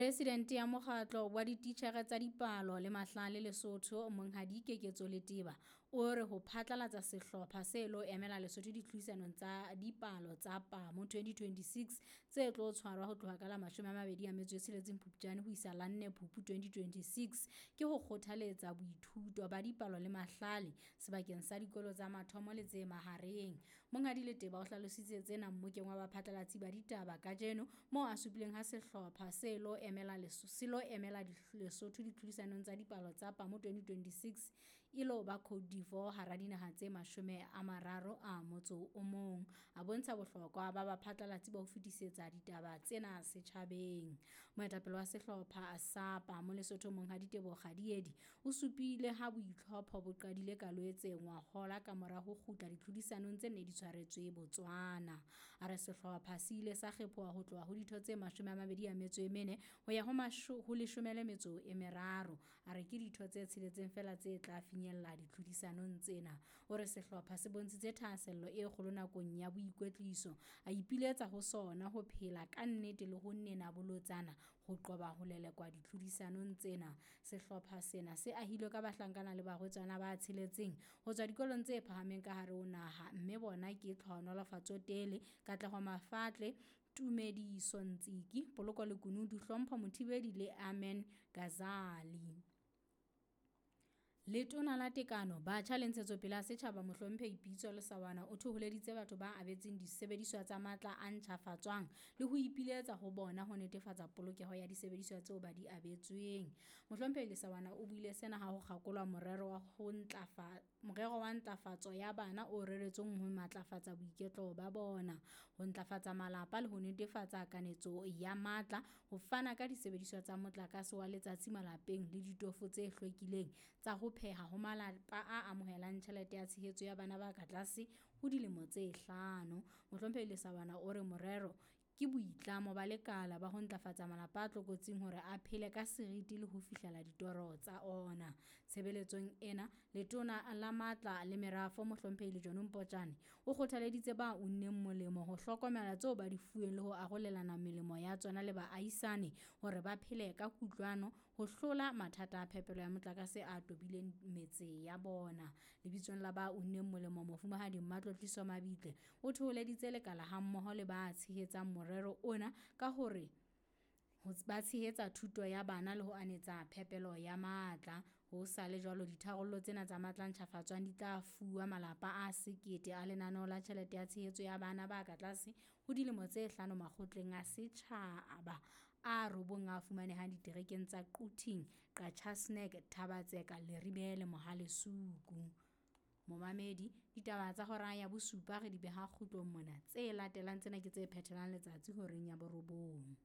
Presidente ya mokgatlo wa dititjhere tsa dipalo le mahlale Lesotho, Monghadi Keketso Leteba, o re ho phatlalatsa sehlopha se lo emela Lesotho ditlhodisanong tsa dipalo tsa PAMO 2026 tse tlo tshwarwa ho tloha ka la 26 Phupjane ho isa la 4 Phupu 2026 ke ho kgothaletsa boithuto ba dipalo le mahlale sebakeng sa dikolo tsa mathomo le tse mahareng. Monghadi Leteba o hlalositse tsena mmokeng wa baphatlalatsi ba ditaba kajeno moo a supileng ha sehlopha se lo emela Lesotho ditlhodisanong tsa dipalo tsa PAMO 2026 e lo ba Cote d'Ivoire hara dinaha tse 31. A bontsha bohlokwa ba baphatlalatsi ba ho fetisetsa ditaba tsena setjhabeng. Moetapele wa sehlopha sa PAMO Lesotho Monghadi Teboho Kgadiedi o supile ha boitlhopho bo qadile ka Loetse ngwahola kamora ho kgutla ditlhodisanong tse ne di tshwaretswe Botswana. A re sehlopha se ile sa kgephoha ho tloha ho ditho tse 24 ho ya ho 13. A re ke ditho tse tsheletseng feela tse tla finyella ditlhodisanong tsena. O re sehlopha se bontshitse thahasello e kgolo nakong ya boikwetliso. A ipiletsa ho sona ho phela ka nnete le ho nena bolotsana ho qoba ho lelekwa ditlhodisanong tsena. Sehlopha sena se ahilwe ka bahlankana le barwetsana ba tsheletseng ho tswa dikolong tse phahameng ka hare ho naha mme bona ke Tlhohonolofatso Tele, Katleho Mafatle, Tumediso Ntsiki, Poloko Lekunutu, Hlompho Mothibedi le Amen Gazali. Letona la Tekano, Batjha le Ntshetsopele ya Setjhaba Mohlomphehi Pitso Lesaoana o thoholeditse batho ba abetsweng disebediswa tsa matla a ntjhafatswang le ho ipiletsa ho bona ho netefatsa polokeho ya disebediswa tseo ba di abetsweng. Mohlomphehi Lesaoana o buile sena ha ho kgakolwa morero wa ntlafatso ya bana o reretsweng ho matlafatsa boiketlo ba bona, ho ntlafatsa malapa le ho netefatsa kanetso ya matla, ho fana ka disebediswa tsa motlakase wa letsatsi malapeng le ditofo tse hlwekileng tsa ho pheha ho malapa a amohelang tjhelete ya tshehetso ya bana ba ka tlase ho dilemo tse hlano. Mohlomphehi Lesaoana o re morero ke boitlamo ba lekala ba ho ntlafatsa malapa a tlokotsing hore a phele ka seriti le ho fihlela ditoro tsa ona. Tshebeletsong ena, Letona la Matla le Merafo Mohlomphehi Lejone Mpotjane o kgothaleditse ba unneng molemo ho hlokomela tseo ba di fuweng le ho arolelana melemo ya tsona le baahisane hore ba phele ka kutlwano ho hlola mathata a phepelo ya motlakase a tobileng metse ya bona. Lebitsong la ba unneng molemo Mofumahadi Mmatlotliso Mabitle o thoholeditse lekala hammoho le ba tshehetsang morero ona ka hore ba tshehetsa thuto ya bana le ho anetsa phepelo ya matla. Ho sa le jwalo, ditharollo tsena tsa matla a ntjhafatswang di tla fuwa malapa a 1 000 a lenaneo la tjhelete ya tshehetso ya bana ba ka tlase ho dilemo tse hlano makgotleng a setjhaba a robong a fumanehang diterekeng tsa Quthing, Qacha's Nek, Thaba-Tseka, Leribe le Mohale's Hoek. Momamedi, ditaba tsa hora ya bosupa re di beha kgutlong mona. Tse latelang tsena ke tse phethelang letsatsi horeng ya borobong.